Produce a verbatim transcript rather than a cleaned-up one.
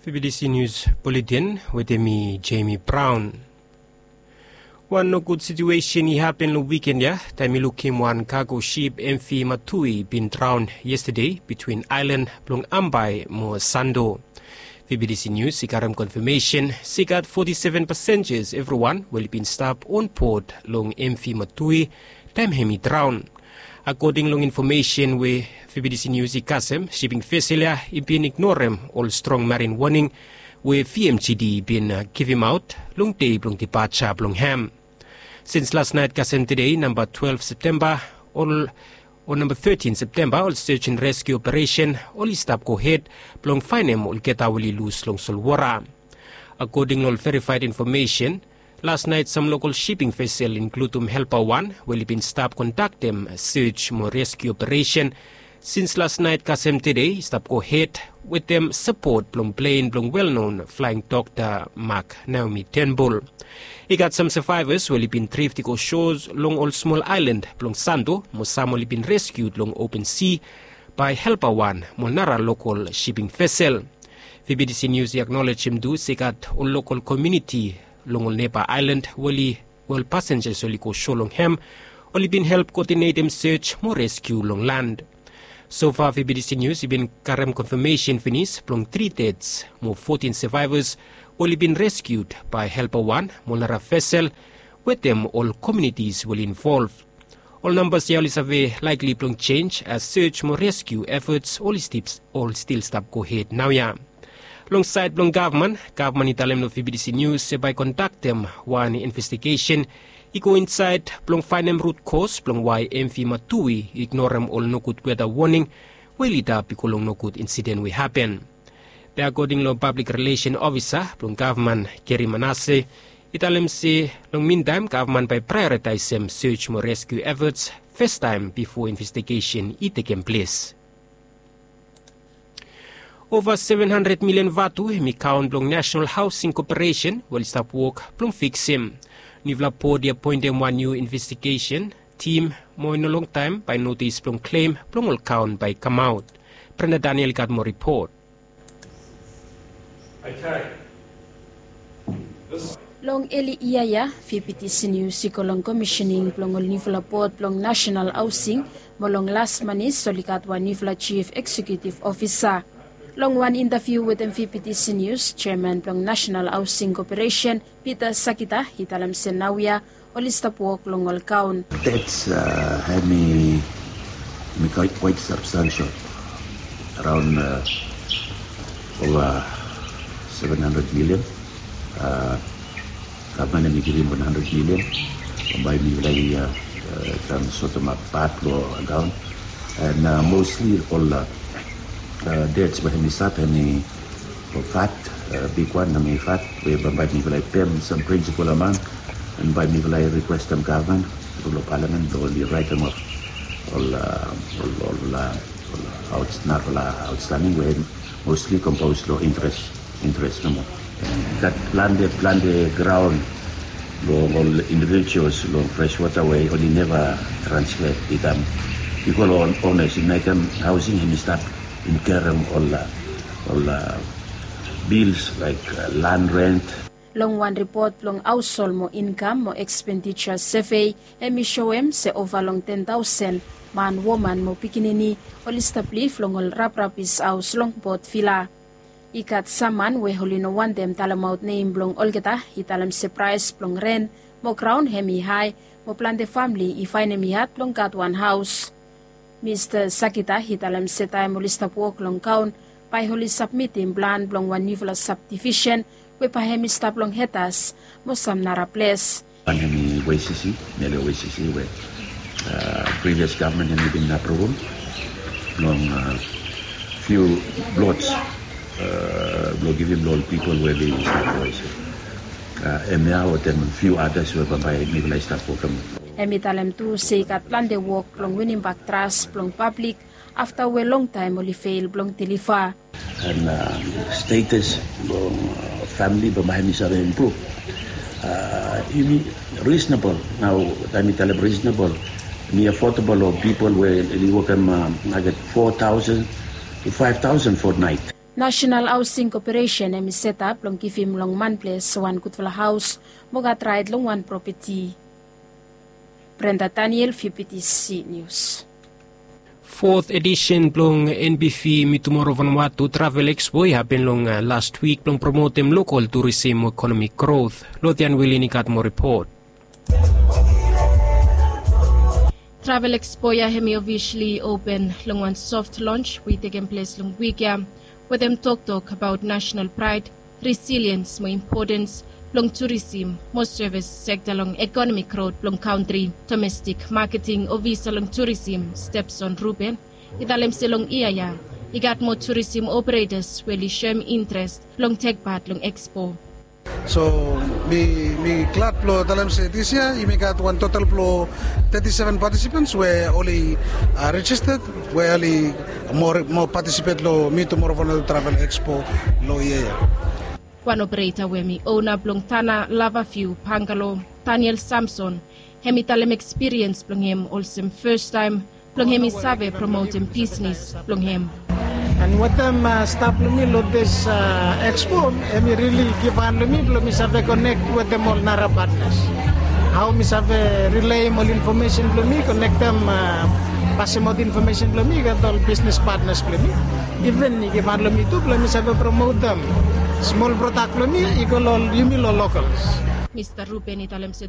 B B C News Bulletin wetem mi, Jamie Brown. Wan nogud situesen i hapen long wiken ya taem i lukim wan kago sip M V Matui bin draon yestade bitwin aelan blong Ambae mo Sando. B B C News i karem konfamesen se i gat foti seven pasenjas evriwan we oli bin stap onbod long M V Matui taem hem i draon. Akoding long infomesen we B B C News i kasem, siping vesel ya i bin ignorem ol strong marin woning we V M G D i bin givimaot long dei blong dipaja blong hem. Sins lasnaet kasem tede, namba twelve Septemba, ol o namba thirteen Septemba, ol search and rescue operation oli stap gohed blong faenem olgeta we oli lus long solwota. Akoding long ol verifaed infomesen, lasnaet sam lokol siping vesel, inkludum Helper One, we oli bin stap kondaktem search mo rescue operation sins lasnaet kasem tede, i stap gohed wetem sapot blong plen blong welknon flaeng dokta Mark Naomi Turnbull. I gat sam savaevas we oli bin drift i go sho long ol smol aelan blong Sando, mo sam oli bin reskiud long open si bae Helper One mo nara lokol siping vesel. B B C News i aknolejem tu se i gat ol lokol komuniti long ol neba aelan we oli, we ol pasenjas oli go sho long hem, oli bin help koodinetem search mo reskiu long lan. Sofa B B C News i bin karem konfamesen finis blong tri deds mo fotin savaevas we oli bin reskiud bae Helper One mo nara vesel wetem ol komunitis we oli involv. Ol nambas ya oli save laekli blong jenj as search mo reskiu efforts oli stip, oli stil stap gohed naoia. Long saed blong gavman, gavman i talem long B B C News se bae i kondaktem wan investigesen i go insaed blong faenem rut kos blong wae M V Matui i ignorem ol nogud weta woning we i lidap i go long nogud insiden we i hapen. Be akoding long pablik rilesen ofisa blong gavman, Gary Manasse, i talem se long mintaem gavman bae i praeoritaesem search mo reskiu efforts fastaem bifo investigesen i tekem ples. Ova seven handred milian vatu hem i kaon blong National Housing Corporation we oli stap wok blong fiksim. Nufala bod i apoentem wan niu investigesen tim mo i no longtaem bae notis blong klem blong ol kaon bae i kamaot. Brenda Daniel i gat moa ripot. Long eli yia ya, B B C News i go long komisening blong ol niufala bod blong National Housing, mo long las manis oli gat wan niufala jif eksekiutiv ofisa. Long wan intaviu wetem B B C News, jeaman blong National Housing Corporation, Peter Sakita, i talem se naoia oli stap wok long ol kaon. Debts, uh, hemi, hemi quite, quite substantial. Around, uh, over seven hundred million. Uh, gavman hemi givim one hundred million. Bambae mifala i, uh, uh, kam sotemap pat long akaon. And, uh, mostly ol, uh, uh, debts we hemi stap hemi fat, uh, bigwan hemi fat, we bambae mifala i pem sam principal amount, and bae mifala i rikwestem gavman tru long palamen blong oli raetem of ol, uh, ol, ol, uh, ol outs-, narafala outstanding we mostly compose long interest, interest nomo. Gat plante, plante graon long ol individuals long Freshwater we oli neva transfer i kam i go long owners, i mekem Housing hemi stap inkerem ol, uh, ol, uh, bills laek, uh, land rent. Long wan ripot blong haoshol mo inkam mo ekspendija sevei, hemi soem se ova long ten taosen man, woman mo pikinini oli stap liv long ol raprapis haos long Port Vila. I gat sam man we oli no wantem talemaot nem blong olgeta i talem se praes blong ren mo graon hemi hae, mo plante famle i faenem i had blong gat wan haos. Mista Sakita i talem se taem oli stap wok long kaon, bae oli sabmitim plan blong wan niufala sabdivisen we bae hemi stap long Hedas mo sam nara ples. Wan hemi Wesisi, niale Wesisi we, uh, previous gavman hemi bin apruvum long, uh, fiu plots, uh, blong givim long ol pipol we oli stap Wesisi. Uh, hemia wetem fiu adas we bambae mifala i stap wokem. Hemi talem tu se i gat plante wok blong winimbak tras blong pablik afta we longtaem oli fel blong deliva. And, uh, status blong, uh, famle bambae hemi save impruv. Uh, hemi reasonable. Nao taem mi talem reasonable, hemi affordable long pipol we oli wokem, uh, maket four thousand to five thousand fortnight. National Housing Corporation hemi setap blong givim long man ples wan gudfala haos mo gat raet long wan propeti. Brenda Daniel, VPTC News. Fot edisen blong NBV Mi Tumoro Vanuatu Travel Expo i hapen long las wik blong promotem lokal turisim mo ekonomik grot. Lodian Wilin i gat moa ripot. Travel Expo ya hemi ofisli open long wan soft lonj we i tekem ples long wik ya, wetem toktok abaot nasenal praed, resiliens mo impotens blong turisim mo sevis sekta long ekonomik grot blong kantri. Domestik maketing ofisa long turisim, Stepson Ruben, i talem se long yia ya i gat moa turisim operetas we oli soem intres blong tekpat long Expo. So mi mi glad blong talem se dis yia yumi gat wan total blong teti seven patisipens we oli rejisted, we oli mo patisipet long Mi Tumoro Vanuatu Travel Expo long yia ya. Wan opereta we hemi ona blong Tana Lavaviu Bangalo, Daniel Samson, hemi talem ekspiriens blong hem olsem fastaem blong hemi save promotem bisnes blong hem. And wetem stap blong mi long dis Expo, hemi rili givhan long mi blong mi save konek wetem ol nara patnas. Hao mi save rileim ol infomesen blong mi, konektem, pasemaot infomesen blong mi i gat ol bisnes patnas blong mi. Iven i givhan long mi tu blong mi save promotem smol prodak blong mi i go long yumi long lokals. Mista Ruben i talem se